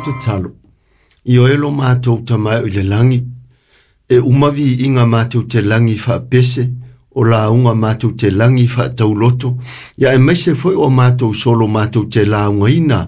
tatalo. Ioe lo matou Tama e o i le lagi, e uma viiga matou te lagi faapese, o lauga matou te lagi faatauloto, ia aemaise foi o matou solo matou te laugaina,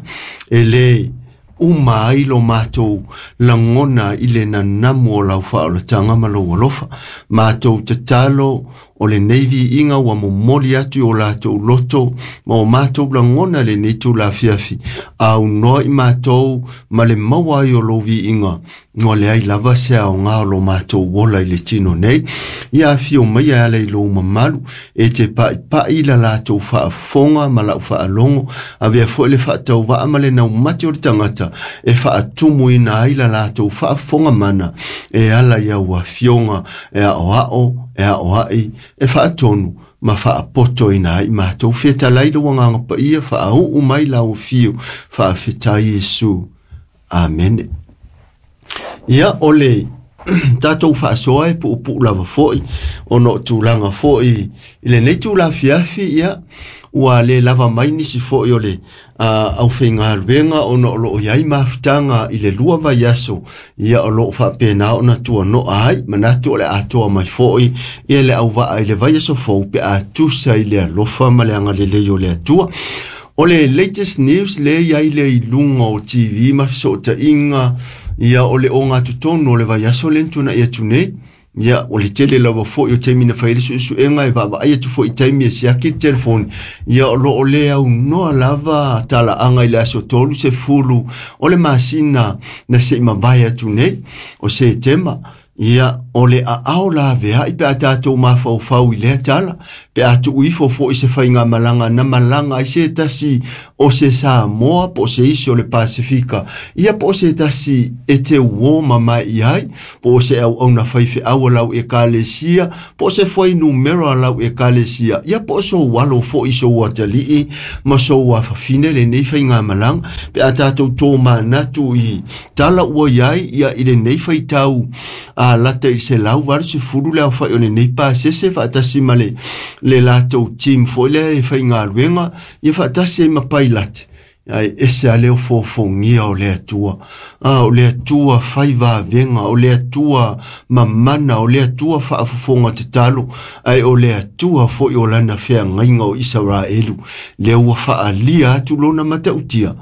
e lē uma ai lo matou lagona i le nanamu o lau faaolataga ma lou alofa. Matou tatalo o lenei viiga ua momoli atu i o latou loto ma o matou lagona lenei tulafiafi, aunoa i matou ma le maua ai o lou viiga, ua leai lava se aoga o lo matou ola i le tino nei. Ia afio mai e ala i lou mamalu, e te pa'ipa'i la latou faafofoga ma la'u faalogo, avea foi le faatauva'a ma le naumati o le tagata e faatumuina ai la latou faafofoga mana e ala i au afioga e aoa'o, e aoa'i, e faatonu ma faapotoina ai matou. Fetalai lou Agaga Paia, faauu mai lau afio, faafetai Iesu. Amene. Ia, o le tatou faasoa e puupuu lava foi, ona o tulaga foi i lenei tulafiafi, ia, ua le lava mai nisi foi o le aufaigaluega ona o loo i ai mafutaga i le 2 vaiaso, ia o loo faapena ona tuano'a ai, manatu o le atoa mai foi ia le auvaa i le vaiaso fou pe a tusa i le alofa ma le agalelei o le Atua. O le latest news le iai le i luga o TV ma fesootaiga, ia o le ogatotonu o le vaiaso le tuana'i atu nei. Ia, o le tele lava foi o taimi na fai ai le suesuega e vaavaai atu foi i taimi e siaki le telefoni, ia o loo le aunoa lava talaaga i le aso 30 o le masina na se i mavae atu nei o Setema. Ia, o le aao laveai pe a tatou mafaufau i lea tala, pe a tuu ifo foi se faigamalaga na malaga ai se tasi o se Samoa po o se isi o le Pasefika, ia po o se tasi e te uō mamae i ai, po o se auauna faifeau a lau ekalesia, po o se fuainumera a lau ekalesia, ia po o sou alo foi, sou atalii ma sou afafine lenei faigamalaga, pe a tatou tomanatu i tala ua iai ia i lenei faitau a lata i 180 le aofai o lenei pasese faatasi ma le latou team foi lea e faigaluega, ia faatasi ai ma pailate. Ae ese a le ofofogia o le Atua. O le Atua fai vavega, o le Atua mamana, o le Atua faafofoga tatalo, ae o le Atua foi o lana feagaiga o Isaraelu, lea ua faaalia atu lona matautia,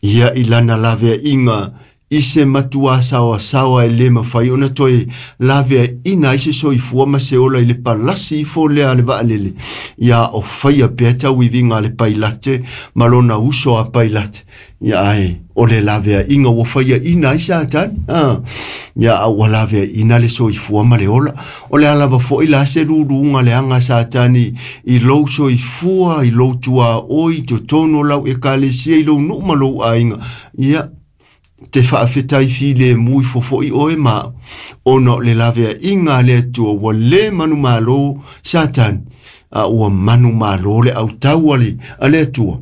ia i lana laveaiga i se matua saoasaoa e lē mafai ona toe laveaiina ai se soifua ma se ola i le palasi ifo lea a le vaalele, ia o faia pea tauiviga a le pailate ma lona uso a pailate. Ia ae o le laveaiga ua faiaina ai Satani, ia a ua laveaiina le soifua ma le ola. O le a lava foi la se luluga leaga a Satani i lou soifua, i lou tuaoi, i totonu o lau ekalesia, i lou nuu ma lou aiga, ia te faafetai filemu ifo foi oe ma ona o le laveaiga a le Atua ua lē manumalo Satani, a ua manumalo le autau a le Atua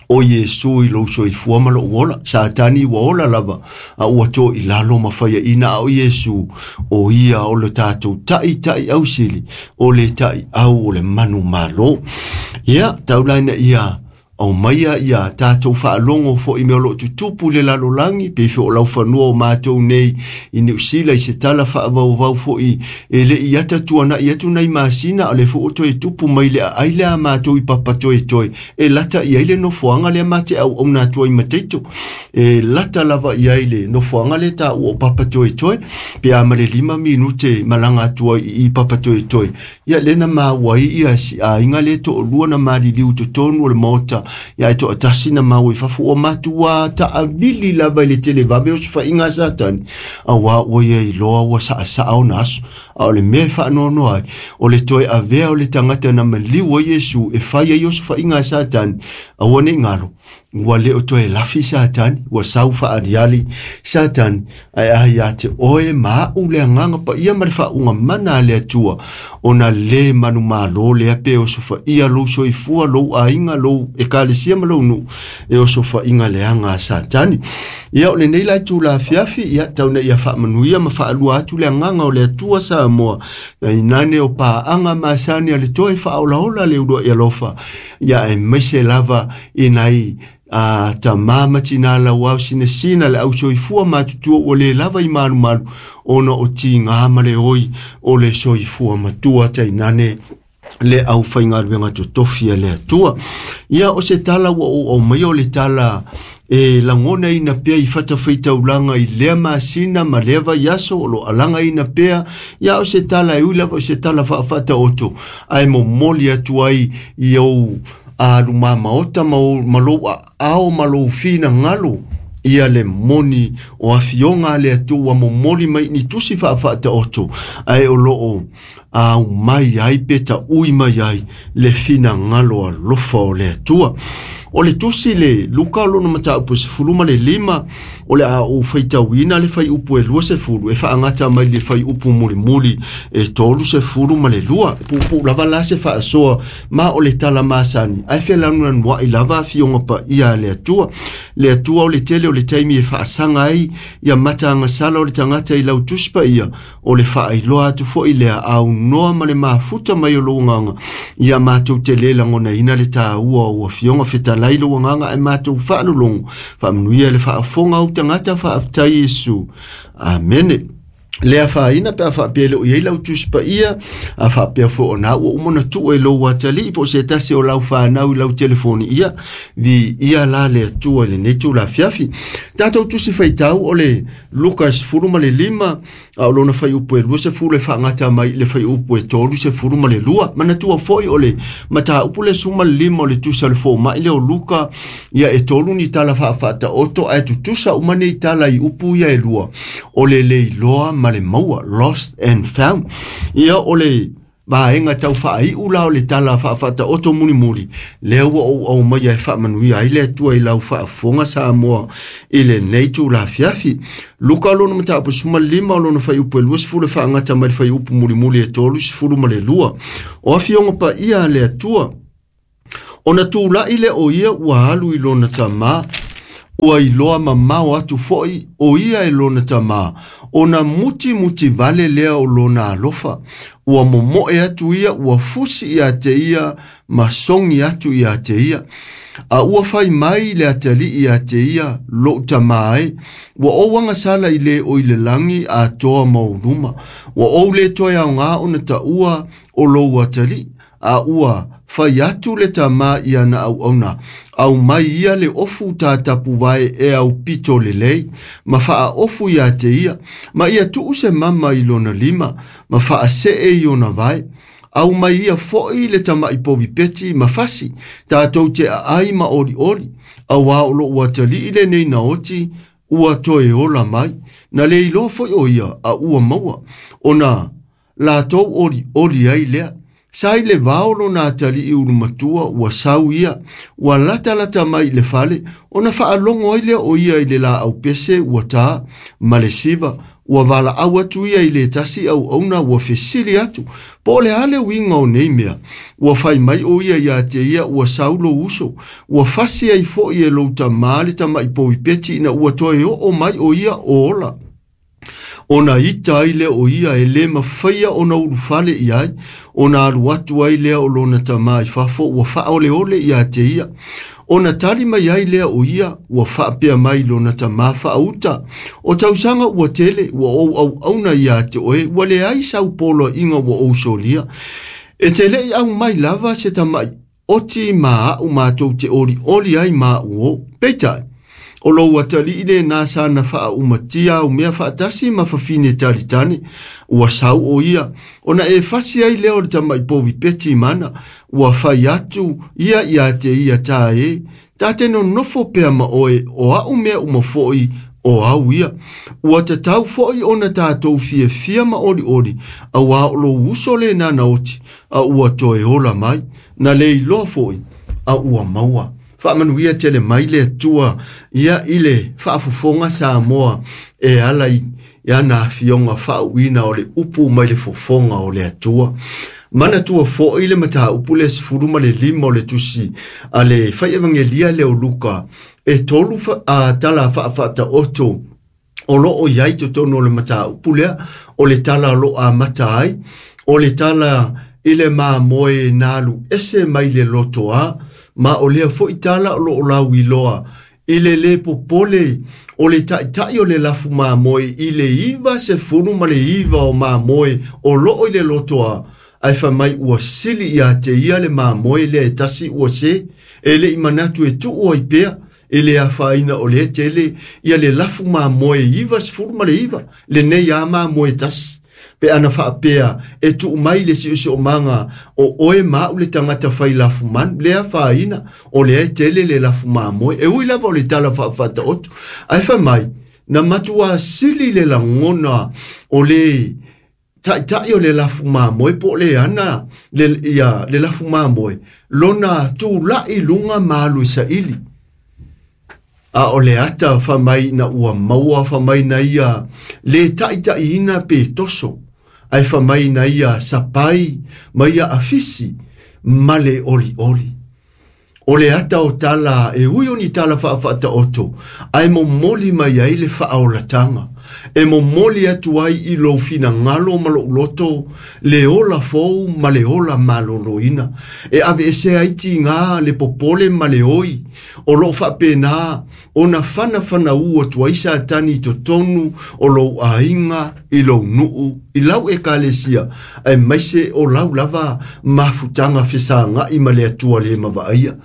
o Iesu i lou soifua ma lou ola. Satani ua ola lava, a ua to i lalo ma faiaina, a o Iesu o ia o le tatou taʻitaʻi ausili, o le taʻiau o le manumalo. Ia taulaina ia aumaia ia tatou faalogo foi mea o loo tutupu i le lalolagi, pe fe o laufanua o matou nei i Niu Sila i se tala faavauvau foi e le i ata tuana'i atu nai masina, o le foi o toe tupu mai le aai lea a matou i Papatoetoe e lata i ai le nofoaga lea ma te auauna atu ai ma Taito, e lata lava i ai le nofoaga lea taua o Papatoetoe, pe a ma le 5 minute malaga atu ai i Papatoetoe. Ia lea na maua ai ia si aiga lea toalua na maliliu totonu o le maota, ia e toatasi na maua i fafo, ua matua taavili lava i le televave o se faiga a Satani, auā ua ia iloa ua saasaa ona aso. A o le mea e faanoanoa ai, o le toe avea o le tagata na maliu ai Iesu e fai ai osofaiga a Satani, aua ne i galo, ua le o toe lafi Satani, ua sau faaliali Satani, ae a ia te oe ma a'u le Agaga Paia ma le faauuga mana a le Atua, ona lē manumalo lea pe osofaia lou soifua, lou aiga, lou ekalesia ma lou nuu e osofaiga leaga a Satani. Ia o lenei la itula afiafi, ia tau ina ia faamanuia ma faalua atu le agaga o le Atua Samoa, tainane o paaga masani a le toe faaolaola le uluai alofa, ia aemaise lava i nai a tamā ma tinā lauao sinasina le ausoifua matutua ua lē lava i malumalu ona o tigā ma le oi o le soifua matua tainane le aufaigaluega totofi a le Atua. Ia o se tala ua ou aumaia o le tala e lagonaina pea i fatafaitaulaga i lea masina ma lea vaiaso o lo alagaina pea. Ia o se tala e ui lava o se tala faafaataoto ae momoli atu ai i ou alumamaota ma lou aao ma lou finagalo ia le moni o afioga a le Atua ua momoli mai ni tusi faafaataoto ae o loo aumai ai pe taui mai ai le finagalo alofa o le Atua. O le tusi le Luka o lona mataupu e 15 o le a ou faitauina le fuaiupu e 20 e faagata mai le fuaiupu mulimuli e 32. Puupuu lava la se faasoa ma o le tala masani ae felanulanuai lava afioga paia a le Atua. Le Atua o le tele o le taimi e faasaga ai ia matagasala o le tagata i lau tusi paia o le faailoa atu foi lea aunoa ma le mafuta mai o lou agaga ia matou te lē lagonaina le tāua o afioga fetalai lou agaga ae matou faalologo faamanuia le faafofoga au tagata faafetai Iesu. Amene. Le afaina pe a faapea e le o i ai lau tusi paia a faapea foi ona ua uma ona tuu e lou atalii po o se tasi o lau fanau i lau telefoni ia viia la le Atua i lenei tulafiafi. Tatou tusi faitau o le Luka 15 a o lona fuaiupu e 20 e faagata mai i le fuaiupu e 32. Manatua foi o le mataupu le 15 o le tusi a le fomai lea o Luka ia e tolu ni tala faafaataoto ae tutusa uma nei tala i upu ia e lua o le leiloa ma le maua, lost and found. Ia o le vaega tau faaiu la o le tala faafaataoto mulimuli lea ua ou aumaia e faamanuia ai le Atua i lau faafofoga Samoa i lenei tulafiafi. Luka lona mataupu 15 o lona fuaiupu e 20 e faagata mai le fuaiupu mulimuli e 32. O afioga paia a le Atua ona tulai le o ia ua alu i lona tamā ua iloa mamao atu foi o ia e lona tamā ona mutimuti vale lea o lona alofa ua momoe atu ia ua fusi ia te ia ma sogi atu ia te ia. A ua fai mai le atalii ia te ia lou tamā e ua ou agasala i le o i le lagi atoa ma ou luma ua ou le toe aogā ona taua o lou atalii a ua fai atu le tamā i ana auauna au mai ia le ofu tatapuvae e au pito lelei ma faaofu ia te ia ma ia tuu se mama i lona lima ma faasee i ona vae au mai ia foi le tama'i povipeti ma fasi tatou te aai ma olioli auā o lou atalii lenei naoti ua toe ola mai na le iloa foi o ia a ua maua ona latou olioli ai lea. Sa i le vao lona atalii ulumatua ua sau ia ua latalata mai i le fale ona faalogo ai lea o ia i le laau pese ua tā ma le siva ua valaau atu ia i le tasi auauna ua fesili atu po o le a le uiga o nei mea ua fai mai o ia ia te ia ua sau lou uso ua fasi ai foi e lou tamā le tama'i povipeti ina ua toe oo mai o ia o ola. Ona ita ai lea o ia e lē mafaia ona ulufale i ai ona alu atu ai lea o lona tamā i fafo ua faaoleole ia te ia. Ona tali mai ai lea o ia ua faapea mai lona tamā faauta o tausaga ua tele ua ou auauna ia te oe ua leai sau poloaiga ua ou solia. E te le'i aumai lava se tama'i oti ma a'u matou te olioli ai ma a'u o. Peitai o lou atalii lenā sana faaumatia au mea faatasi ma fafine talitane ua sau o ia ona e fasi ai lea o le tama'i povipeti mana ua fai atu ia ia te ia tā e tā te nonofo pea ma oe o a'u mea uma foi o au ia ua tatau foi ona tatou fiafia ma olioli auā o lou uso lenā naoti a ua toe ola mai na le iloa foi a ua maua. Faamanuia tele mai le Atua ia i le faafofoga Samoa e ala i ana afioga faauuina o le upu mai le fofoga o le Atua. Manatua foi le mataupu le 15 o le tusi a le fai evangelia lea o Luka e tolu tala faafaataoto o loo i ai totonu o le mataupu lea o le tala o loo amata ai o le tala i le mamoe na alu ese mai le lotoa, ma o lea fo'i tala o lo'o lauiloa i le lē popole o le ta'ita'i o le lafu mamoe i le 99 o mamoe o lo'o i le lotoa, ae faimai ua sili iā te ia le mamoe lea e tasi ua se e le'i manatu e tu'u ai pea e le afaina o lea tele ia le lafu mamoe 99 lenei a mamoe tasi. Pe ana faapea e tuu mai le siosiomaga o oe ma a'u le tagata fai lafu manu le afaina o lea e tele le lafu mamoe e ui lava o le tala faafaataoto. Ae faimai na matuā sili le lagona o le ta'ita'i o le lafu mamoe po o le ana le, ia, le lafu mamoe lona tula'i luga ma alu e sa'ili. A o le ata faamai ina ua maua faamai na ia lē taʻitaʻiina pe toso, ae faamai na ia sapai ma ia afisi ma le olioli. O le ata o tala e ui o ni tala faafaataoto, ae momoli mai ai le faaolataga e momoli atu ai i lou finagalo ma lo'u loto le ola fou ma le ola malōlōina e aveesea ai tigā le popole ma le oi o lo'o faapena ona fanafanaū atu ai Satani i totonu o lou aiga, i lou nu'u, i lau ekalesia, aemaise o lau lava mafutaga fesaga'i ma le Atua lē mavaaia.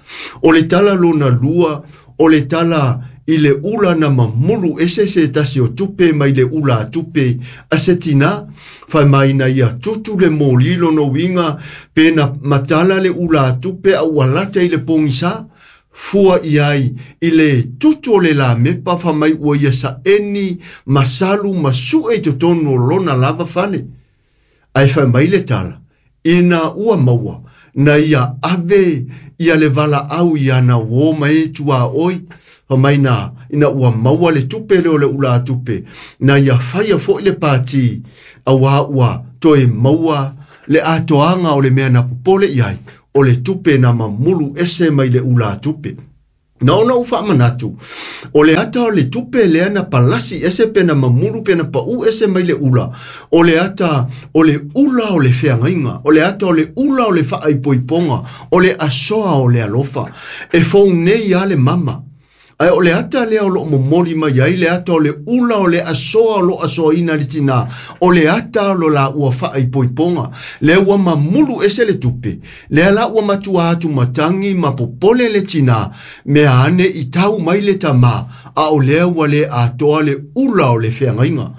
O le tala lona lua o le tala i le ula na mamulu ese se tasi o tupe mai le ula a tupe a se tinā, faimai ia tutu le moli lona uiga pe na matala le ula a tupe a ua lata i le pogisā fua i ai i le tutu o le lamepa faamai ua ia sa'eni masalu ma su'e i totonu o lona lava fale. Ae faimai le tala ina ua maua na ia ave ia le valaau i ana uō ma e tuaoi faamai na ina ua maua le tupe lea o le ula tupe na ia faia fo'i le pati auā ua toe maua le atoaga o le mea na popole i ai o le tupe na mamulu ese mai le ula tupe. Na ona ou faamanatu o le ata o le tupe lea na palasi ese pe na mamulu pe na pa'ū ese mai le ula, o le ata o le ula o le feagaiga, o le ata o le ula o le faaipoipoga, o le asoa o le alofa e fou nei a le mama. Ae o le ata lea o loo momoli mai ai le ata o le ula o le asoa o loo asoaina le tinā, o le ata o lo la ua faaipoipoga lea ua mamulu ese le tupe lea la ua matua atu matagi ma popole le tinā mea ane i tau mai le tamā, a o lea ua lē atoa le ula o le feagaiga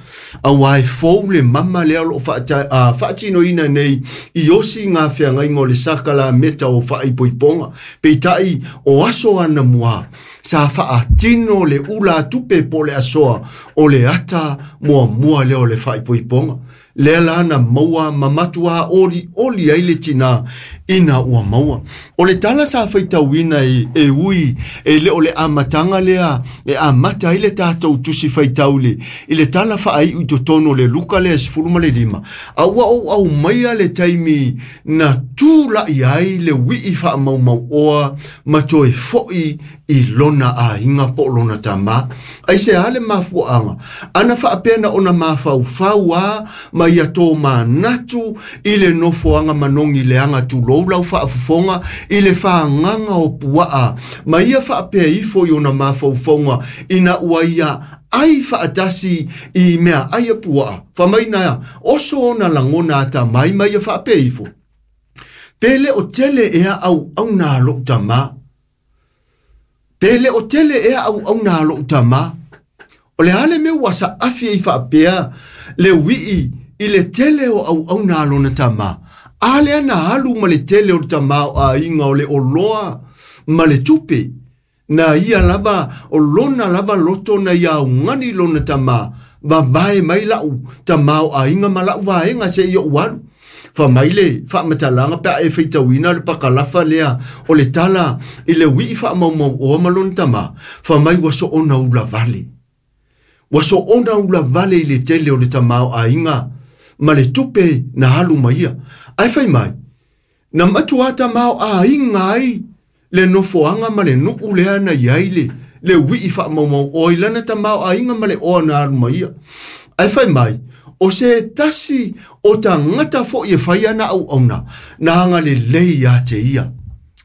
auā e fou le mama lea o loo faatinoina nei i osi ngā feagaiga o le sakalameta o faaipoipoga. Peitaʻi o aso ana muā sa faatino le ula tupe po le asoa o le ata muamua lea o le faaipoipoga lea la na maua ma matuā oli oli ai le tinā ina ua maua. O le tala sa faitauina e ui e le o le amataga lea e amata ai le tatou tusi faitauli i le tala faaiu i totonu o le Luka lea 15, a ua ou aumaia le taimi na tula'i ai le ui'i faamaumau'oa ma toe fo'i i lona aiga po o lona tamā. Ai se a le mafuaaga ana faapea na ona mafaufau a ma ia tō manatu i le nofoaga manogi leaga tulou lau faafofoga i le fagaga o puaa ma ia faapea ifo i ona mafaufauga ina ua ia ai faatasi i mea ai a puaa faamaina oso ona lagona atamai ma ia faapea ifo pe le o tele ea auauna a lo'u tamā, pe le o tele ea auauna a lo'u tamā. O le a le mea ua saafi ai faapea le ui'i i le tele o auauna a lona tamā, a lea na alu ma le tele o le tamā o aiga o le oloa ma le tupe na ia lava o lona lava loto na ia augani lona tamā vavae mai la'u tamā o aiga ma la'u vaega seia ou alu. Faamai le faamatalaga pe a e faitauina le pakalafa lea o le tala i le ui'i faamaumauoa ma lona tamā, faamai ua soona ula vale, ua soona ula vale i le tele o le tamā o aiga ma le tupe na alu ma ia. Ae fai mai na matuā tamā o aiga ai le nofoaga ma le nu'u lea na iai le ui'i faamaumauoa i lana tamā o aiga ma le oa na alu ma ia. Ae fai mai O se tasi o tagata foʻi e fai ana auauna na agalelei ia te ia.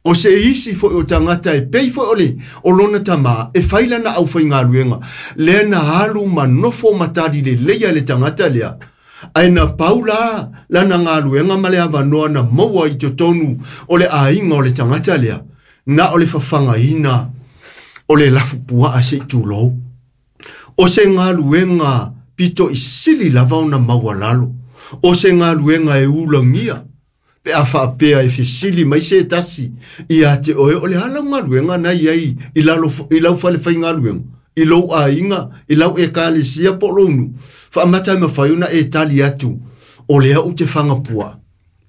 O se isi foʻi o tagata e pei foʻi o le o lona tamā e fai lana aufaigaluega, lea na alu ma nofo ma talilelei a le tagata lea, ae na pau la lana galuega ma le avanoa na maua i totonu o le aiga o le tagata lea, na o le fafagaina o le lafupuaa se i tulou. O se galuega pito i sili lava ona maualalo, o se galuega e ulagia, pe a faapea e fesili mai se tasi ia te oe o le a lau galuega na i ai i lalo i lau falefaigaluega, i lou aiga, i lau ekalesia po o lou nuu, faamata e mafai ona e tali atu, o lea ou te fagapuaa.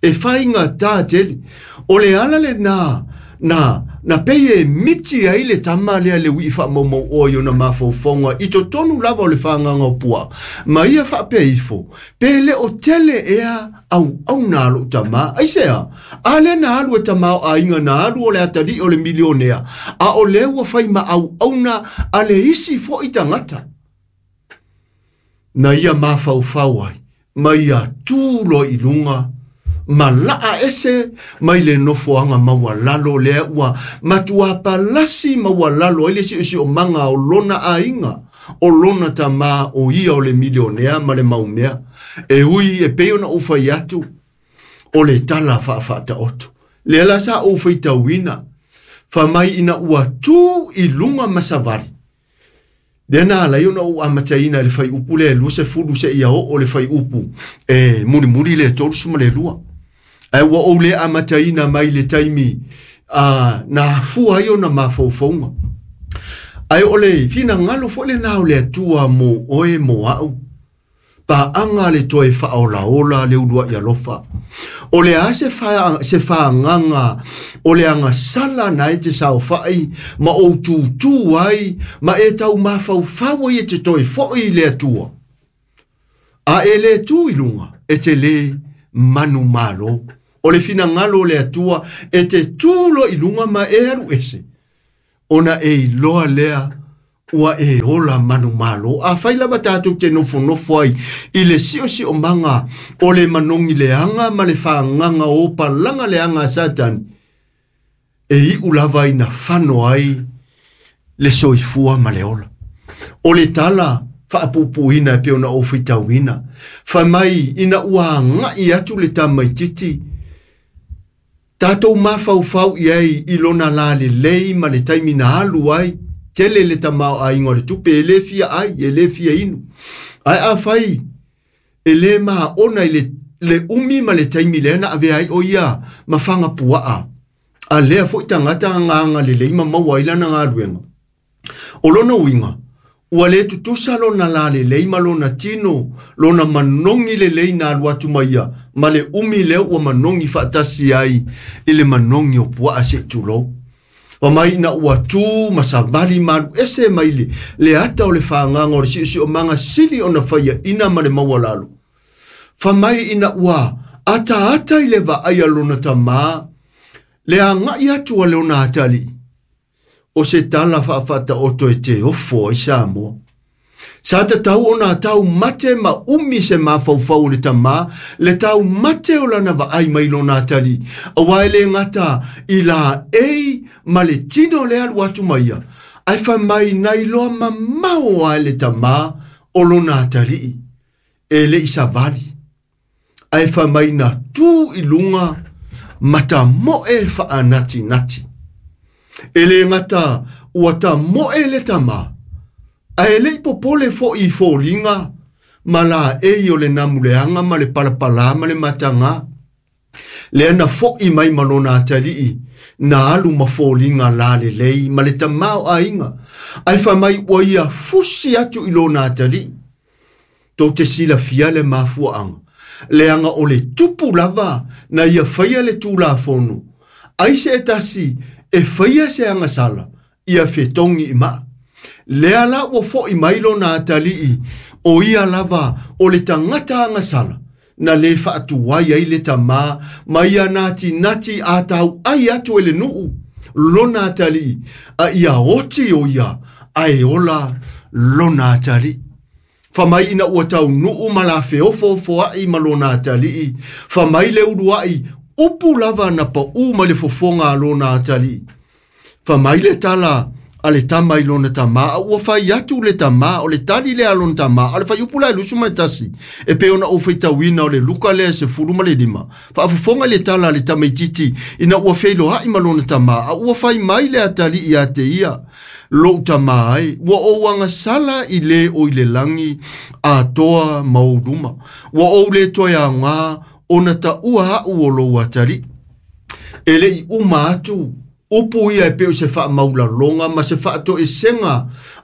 E faigata tele. O le ala lenā na na pei e miti ai le tama lea le ui'i faamaumauoa i ona mafaufauga i totonu lava o le fagaga o puaa, ma ia faapea ifo, pe le o tele ea auauna a lou tamā. Aisea? A lea na alu e tamaoaiga na alu o le atalii o le milionea, a o lea ua fai ma auauna a le isi foʻi tagata. Na ia mafaufau ai, ma ia tu loa i luga, ma laa ese mai le nofoaga maualalo lea ua matuā palasi maualalo ai le siosiomaga o lona aiga, o lona tamā o ia o le milionea ma le mau mea. E ui e pei ona ou fai atu, o le tala faafaataoto. Lea la sa ou faitauina, fai mai ina ua tu i luga ma savali, Lea na ala ai ona ou amataina i le fuaiupu lea e 20 seia oo le fuaiupu e mulimuli le 32. Ae ua ou le amataina mai le taimi na afua ai ona mafaufauga. Ae o le finagalo foi lenā o le Atua mo oe mo au. Paaga le toe faaolaola le uluai alofa. O le a se, fa, se fagaga o le agasala na e te saofai ma ou tutū ai ma e tau mafaufau ai e te toe foi i le Atua. A e le tu i luga, e te lē manumalo. O le finagalo o le Atua e te tu loa i luga ma e alu ese, ona e iloa lea ua e ola manumalo. Afai lava tatou te nofonofo ai i le siosiomaga o le manogi leaga ma le fagaga o palaga leaga a Satani, e iu lava ina fano ai le soifua ma le ola. O le tala faapuupuuina e pei ona ou faitauina, fai mai ina ua agai atu le tamaititi, Tatou mafaufau i ai i lona lalelei ma le taimi na alu ai, tele le tamaoaiga o le tupe e le fia ai, e le fia inu. Ae afai e le maona i le, le umi ma le taimi lea na avea ai o ia ma faga puaa, a lea foi tagata agaga lelei ma maua ai lana galuega. O lona uiga, ua le tutusa lona lalelei ma lona tino, lona manogi lelei na alu atu ma ia, ma le umi lea ua manogi faatasi ai i le manogi o puaa se i tulou. Fai mai ina ua tu ma savali ma alu ese mai le, le ata o le fagaga o le siosiomaga sili ona faiaina ma le maualalo. Fai mai ina ua ataata i le vaai a lona tamā, le agai atu a lona atalii, O se tala faafaataoto e te ofo ai Samoa. Sa tatau ona taumate ma umi se mafaufau o le tamā, le taumate o lana vaai mai lona atalii, aua e le gata i laei ma le tino le alu atu ma ia, ae fai mai na iloa mamao lava e le tamā o lona atalii, e le i savali. Ae fai mai na tu i luga ma tamoe faanatinati. E le gata ua tamoe le tamā, ae le i popole foʻi i foliga ma laei o le namuleaga ma le palapalā ma le matagā. Lea na foʻi mai ma lona atalii na alu ma foliga lalelei ma le tamaoaiga, ae fai mai ua ia fusi atu i lona atalii. Tou te silafia le mafuaaga, leaga o le tupu lava na ia faia le Tulafono, ai se tasi e faia se agasala, ia fetogi i maa. Lea la ua foʻi mai lona atalii, o ia lava o le tagata agasala, na lē faatuai ai le tamā ma ia natinati a tauʻai atu e le nuu lona atalii, a ia oti o ia ae ola lona atalii. Fai mai ina ua taunuu ma la feofoofoa'i ma lona atalii, fai mai le uluai upu lava na paū mai le fofoga a lona atalii. Fai mai le tala a le tama i lona tamā, a ua fai atu le tamā, o le tali lea a lona tamā, a o le fuaiupu la e 21, e pei ona ou faitauina o le Luka lea e 15, faafofoga i le tala a le tamaitiiti ina ua feiloai ma lona tamā, a ua fai mai le atalii ia te ia, lou tamā ai, ua ou agasala i le o i le lagi atoa ma ou luma, ua ou le toe aoga ona taua a'u o lou atalii. E le'i uma atu upu ia e pei o se faamaulaloga ma se faatoesega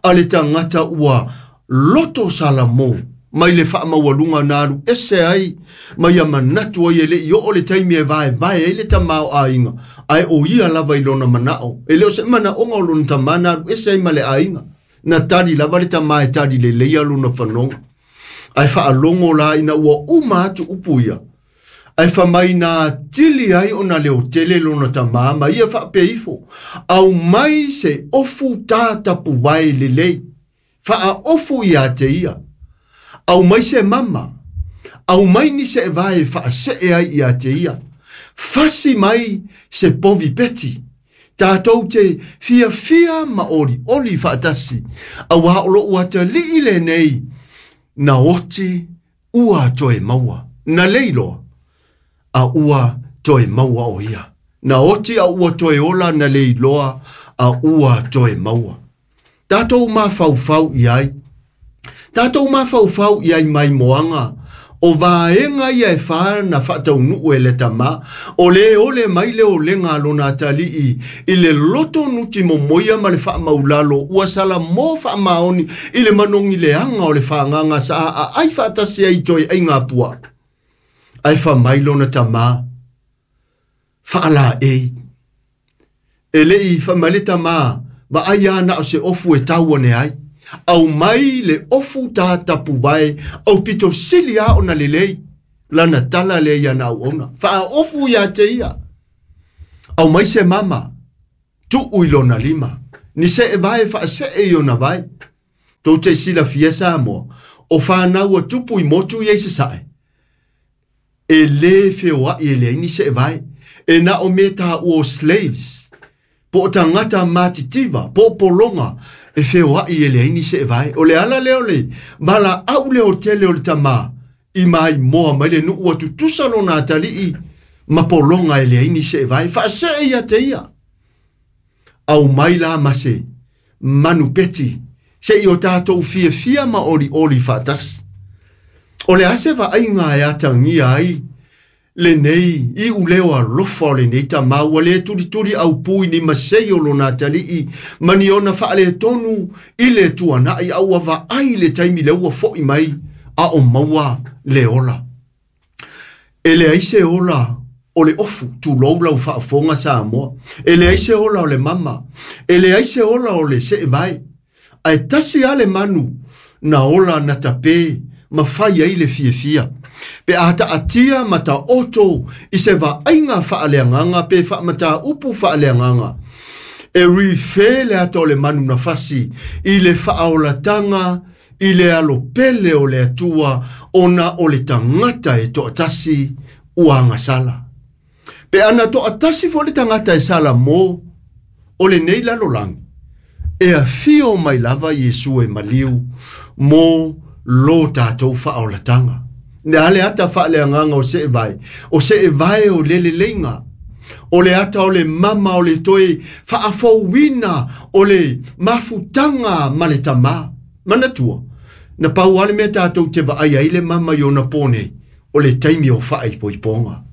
a le tagata ua loto salamo mai le faamaualuga na alu ese ai ma ia manatu ai e le'i oo le taimi e vaevae ai le tamaoaiga, ae o ia lava i lona manao. E le o se manaoga o lona tamā na alu ese ai ma le aiga. Na tali lava le tamā e tali leleia lona fanoga. Ae faalogo la ina ua uma atu upu ia, ae fai mai na atili ai ona leotele lona tamā ma ia faapea ifo, aumai se ofu tatapuvae lelei, faaofu ia te ia, aumai se mama, aumai ni seevae e faasee ai ia te ia, fasi mai se povi peti, tatou te fiafia ma olioli faatasi, auā o lou atalii lenei na oti ua toe maua, na leiloa a ua toe maua o ia. Na oti a ua toe ola na leiloa a ua toe maua. Tatou mafaufau i ai. Tatou mafaufau i ai mai moaga. O vaega ia e wha na whataunuu e le tamā, o le ole mai le olega a lona atalii i le loto nuti momoia ma le faamaulalo, ua salamo faamaoni i le manogi leaga o le fagaga sa aai faatasi ai toe aiga pua. Ae fai mai lona tamā, faalaei. E le'i fai mai le tamā, vaai a na o se ofu e tau ane ai. Aumai le ofu tatapuvae, au pito sili a ona lelei, lana tala lea ia na auauna. Faaofu ia te ia. Aumai se mama, tuu i lona lima. Ni seevae faasee i ona vae. Tou te silafia Samoa, o whanau a tupu i motu i sasae. E le feoai e leai ni seevae. E na o me tā ua slaves. Po o tagata matitiva, po o pologa, e feoai e leai ni seevae. O le ala lea o le valaau le tele o le tamā, i mai moa mai le nuu atutusa lona atalii, ma pologa e leai ni seevae. Faasee ia te ia. Aumai la ma se manupeti, se i o tātou fiafia ma olioli faatasi. O le ase vaaiga e atagia ai lenei i uleo alofa o lenei tamā, ua le tulituli aupū i ni masei o lona atalii, ma ni ona faaletonu i le tuanai, a ua vaai le taimi lea ua fo'i mai a o maua le ola. E leai se ola o le ofu, tulou lau faafofoga Samoa. E leai se ola o le mama, e leai se ola o le seevae. Ae tasi lava le manu na ola na tapē ma fai ai le fiafia. Pe a taatia ma taoto i se vaaiga faaleagaga pe faamataupu faaleagaga, e refer le ata o le manu na fasi i le faaolataga i le alopele o le Atua, ona o le tagata e toatasi ua agasala. Pe ana toatasi foi le tagata e salamo o lenei lalolagi, e afio mai lava Iesu e maliu mo lo tātou faaolataga. Le a le ata faaleagaga o seevae, o seevae o le leleiga, o le ata o le mama o le toe faafouina o le mafutaga ma le tamā. Manatua, na pau lava le mea tātou te vaai ai le mama i ona pō nei, o le taimi o faaipoipoga.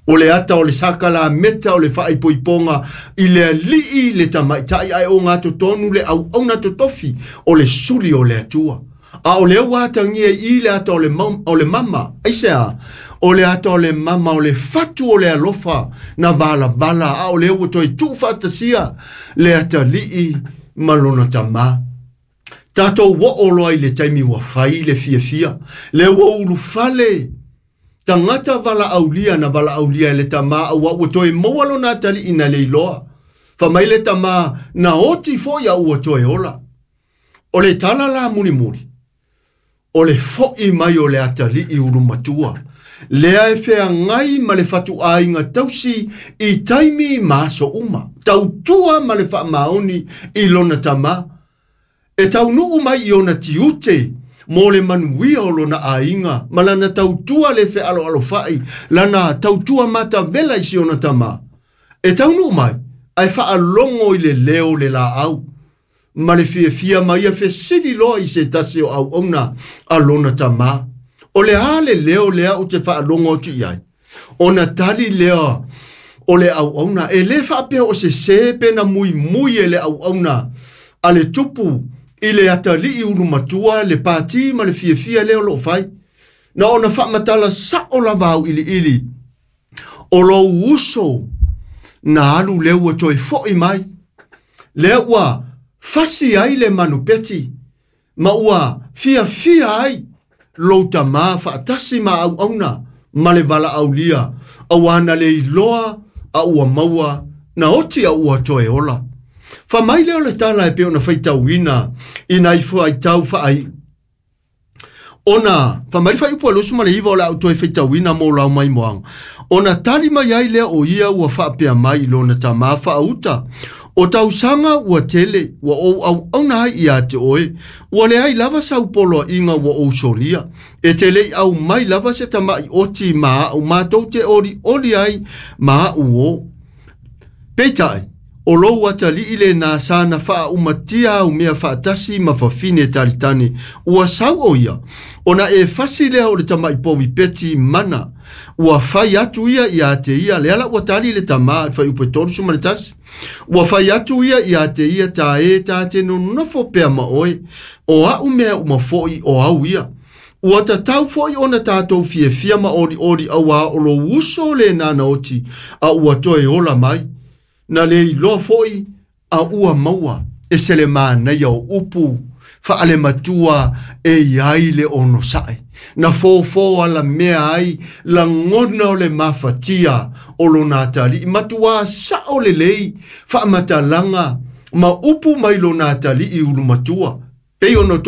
O le ata o le sakalameta o le faaipoipoga i le alii le tamaitai ae o gatotonu le auauna totofi o le suli o le Atua. A o lea ua atagia i le ata o le mama, aisea, o le ata o le mama o le fatu o le alofa na valavala, a o lea ua toe tuufaatasia le atalii ma lona tamā. Tātou oo loa i le taimi ua fai le fiafia, le ua ulufale tagata valaaulia na valaaulia e le tamā, aua ua toe maua lona atalii na leiloa. Fai mai le tamā na oti foi a ua toe ola. O le tala la mulimuli, O le fo'i mai o le atalii ulumatua. Lea e feagai ma le fatuaiga tausi i taimi ma aso uma. Tautua ma le faamaoni i lona tamā. E taunuu mai i ona tiute mo le manuia o lona aiga ma lana tautua le fealoalofa'i lana tautua matavela i si ona tamā. E taunuu mai ae faalogo i le leo o le laau ma le fiafia ma ia fesili loa i se tasi o auauna a lona tamā. O le a le leo lea ou te faalogo atu i ai? Ona tali lea o le auauna, e lē faapea o sesē pe na muimui e le auauna a le tupu i le atalii ulumatua le pati ma le fiafia lea o loo fai. Na ona faamatala sa'o lava auiliili o lou uso na alu lea ua toe fo'i mai. Lea ua fasi ai le manupeti ma ua fiafia ai lou tamā faatasi ma auauna ma le valaaulia auā na le iloa a ua maua na oti a ua toe ola. Fai mai lea o le tala e pei ona faitauina i nai faitau faaiu. Ona fai mai le fuaiupu 29 o le a ou toe faitauina mo lau maimoaga. Ona tali mai ai lea o ia ua faapea mai i lona tamā faauta. O tausaga ua tele, ua ou auauna ai ia te oe, ua leai lava sau poloaiga ua ou solia. E te le i aumai lava se tama'i oti ma a'u matou te olioli ai ma a'u o. Peitai, o lou atalii lenā sa na faaumatia au mea faatasi ma fafine talitane, ua sau o ia, ona e fasi lea o le tama'i povi peti mana, ua fai atu ia ia te ia, lea la ua tali le tamā, le fuaiupu 31. Ua fai atu ia ia te ia ta e ta te nonofo pea ma oe, o a'u mea uma fo'i o au ia. Ua tatau fo'i ona tatou fiafia ma olioli auā o lou uso lenā na oti, a ua toe ola mai. Na le iloa fo'i a ua maua e se le manaia o upu faalematua e iai le onosa'i. Na fofo alamea ai lagona o le mafatia o lona atalii matuā sa'o lelei faamatalaga ma upu mai lona atalii ulumatua. Pei ona outou